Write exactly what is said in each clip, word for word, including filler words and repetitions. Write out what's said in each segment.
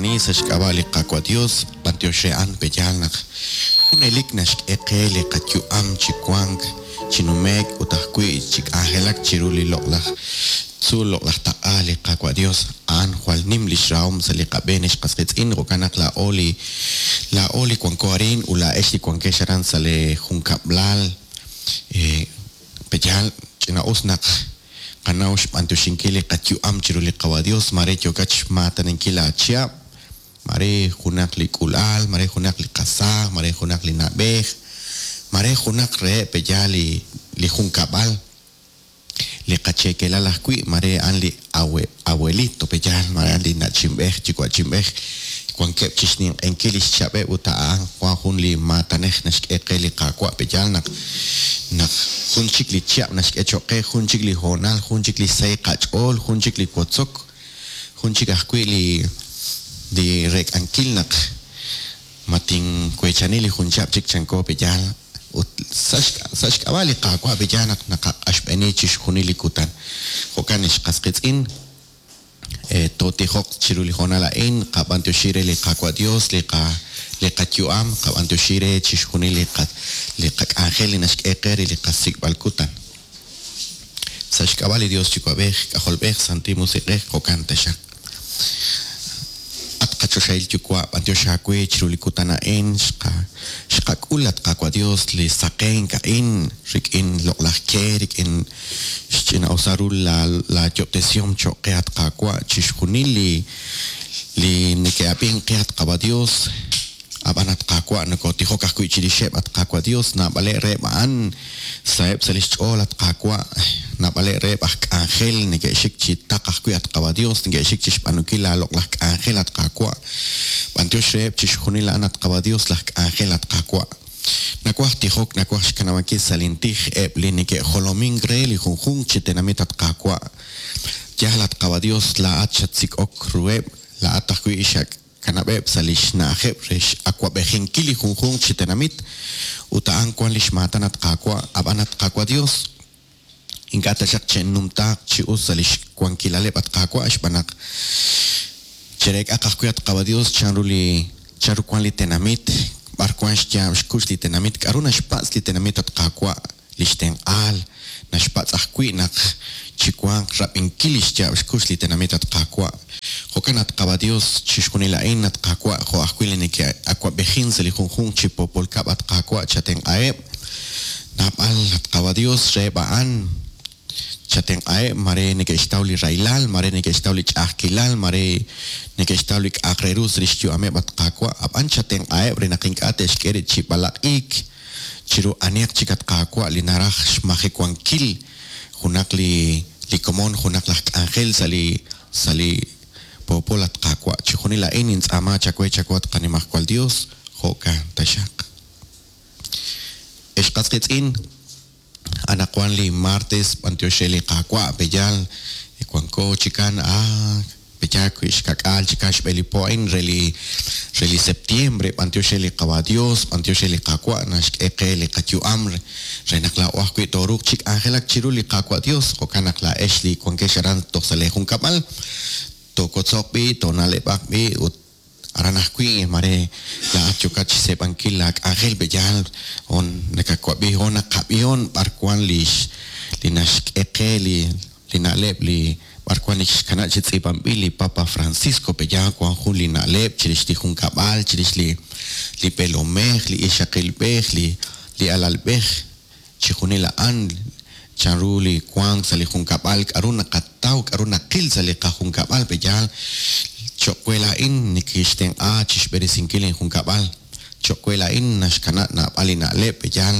Toqula'ani sa' xk'ab'a' li Qaawa' Dios, b'antiox re a'an pe'yaal naq junelik naxk'e qe li qayu'am chi wank, chi nume'k ut ajwi' chi k'anjelak chiru li loq'laj tzuul loq'laj taq'a li Qaawa' Dios. A'an jwal nim lix rahom sa' li qab'een ex qas qiitz'in, jo'kan naq laa'o li laa'o li wanko arin ut laa'ex li wankex aran sa' li junkab'lal pe'yaal ch'ina'us naq qanaw xb'antioxinkil li qayu'am chiru li Qaawa' Dios, mare yookat xmaataninkil aachihab', mare junaq li k'ulal, mare junaq li qasaaj, mare junaq li na'b'ej, mare junaq reheb' pe'yaal li li junkab'al, li qachekelal ajwi', mare a'an li abuelito pe'yaal, mare a'an li na'chinb'ej, yuwa'chinb'ej, wankeb' chixninq'enkil lix chab'eb' ut a'an wan jun li maatanej naxk'e qe li Qaawa' pe'yaal naq naq jun chik li chihab' naxk'e cho'q qe, jun chik li hoonal, jun chik li sahil qach'ool, jun chik li wotzok, jun chik ajwi' li li rek'ankil naq matinweechani li jun chihab' chik chanko pe'yaal ut sa' xk'ab'a' li Qaawa' pe'yaal naq naqaq'axb'eni chixjunil li kutan. Jo'kan ex qas qiitz'in, tootijoq chiru li hoonal a'in, qab'antioxi re li Qaawa' Dios, li qa li qayu'am, qab'antioxi re chixjunil li qa li qak'anjel li naxk'e qe re li qasik'b'al kutan. Sa' xk'ab'a' li Dios Yuwa'b'ej, K'ajolb'ej, Santil Musiq'ej, jo'kan taxaq. At qachoxahil Yuwa', b'antiox aawe chiru li kutan a'in, xqa xqak'ul at Qaawa' Dios li saqenk a'in rik'in loq'laj ke, rik'in xch'ina'usa ru la la yob'tesihom cho'q qe at Qaawa' chixjunil li li neke'ab'ink qe at Qaawa' Dios. Ab'an at Qaawa' nokotijok ajwi' chirixeb' at Qaawa' Dios, naab'aleb' reheb' a'an saheb' sa' lix ch'ool at Qaawa', naab'aleb' reheb' aj k'anjel neke'xik chi taq ajwi' at Qaawa' Dios, neke'xik chixb'aanunkil la loq'laj k'anjel at Qaawa'. B'antiox reheb' chixjunil a'an at Qaawa' Dios laj k'anjel at Qaawa'. Nawaj tijok, nawaj xkanab'ankil sa' lintij eb' li neke'jolomink re li junjunq chi tenamit at Qaawa'. Yaal at Qaawa' Dios, laa'at xatsik'ok ruheb', laa'at ajwi' xak kanab'eb' sa' lix na'ajeb' re x'awab'ejinkil li junjunq chi tenamit ut a'an wan lix maatan at Qaawa', ab'an at Qaawa' Dios, ink'a' taxaq che'numtaaq chi us sa' lix wankilaleb' at Qaawa' xb'aan naq chereek'aq ajwi' at Qaawa' Dios chanru li chanru wan li tenamit, b'ar wan xyaab' xkux li tenamit, k'a'ru naxpatz' li tenamit at Qaawa' lix tenq'aal, naxpatz' ajwi' naq chiwanq rab'inkil lix yaab' xkux li tenamit at Qaawa'. Jo'kan at Qaawa' Dios chixjunil a'in at Qaawa' jo' ajwi' li neke'awab'ejin sa' li junjunq chi poopol kab' at Qaawa' chatenq'aheb', naab'al at Qaawa' Dios reheb' a'an chatenq'aheb', mare neke'xtaw li rahilal, mare neke'xtaw li ch'a'ajkilal, mare neke'xtaw li k'a'aq re ru sa' lix yu'ameb' at Qaawa', ab'an chatenq'aheb' re naq ink'a' te'xk'e rib' chi b'alaq'iik chiru anihaq chik at Qaawa' li naraj xmajewankil junaq li li komon, junaq laj k'anjel sa' li sa' li poopol at Qaawa'. Chixjunil a'in nintz'aama chawe chawe at Qanimajwal Dios, jo'kan taxaq. Ex qas qiitz'in, anaqwan li martes b'antiox re li Qaawa' pe'yaal wanko chikan ah pe'yaal wi' xkak'aal chikan xb'e li po a'in re li re li septiembre, b'antiox re li Qaawa' Dios, b'antiox re li Qaawa' naxk'e qe li qayu'am re naq laa'o ajwi' tooruuq chi k'anjelak chiru li Qaawa' Dios, jo'kan naq laa'ex li wankex aran toj sa' lee junkab'al, tookotzoq b'i, toona'leb'aq b'i ut aran ajwi' mare laa'at yookat chixseeb'ankil la k'anjel pe'yaal on nakawab'i on naqab'ihon b'ar wan lix li naxk'e qe li li na'leb' li b'ar wan li xkana' chi tz'iib'anb'il li Papa Francisco pe'yaal wan jun li na'leb' chirix li junkab'al, chirix li li pelomej, li ixaqilb'ej, li li alalb'ej, chixjunil a'an chanru li wank sa' li junkab'al, k'a'ru naqataw, k'a'ru naqil sa' li qajunkab'al pe'yaal cho'q we laa'in nikixtenq'a chixb'eresinkil injunkab'al, cho'q we laa'in naxkana' naab'al li na'leb' pe'yaal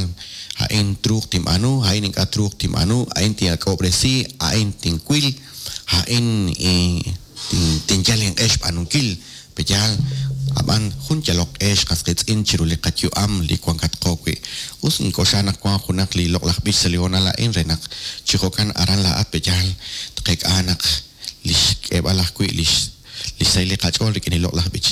a'in truuq tinb'aanu, a'in ink'a' truuq tinb'aanu, a'in tinak'ob'resi, a'in tinwil, a'in tinyal inq'e xb'aanunkil pe'yaal ab'an jun yaloq q'e xqas qiitz'in chiru li qayu'am li wankatqo wi'. Us ink'oxla naq wan junaq li loq'laj b'ich sa' li hoonal a'in re naq chi jo'kan aran laa'at pe'yaal tqeek'a naq lix k'eeb'al ajwi' lix lix sahil li qach'ool rik'in li loq'laj b'ich.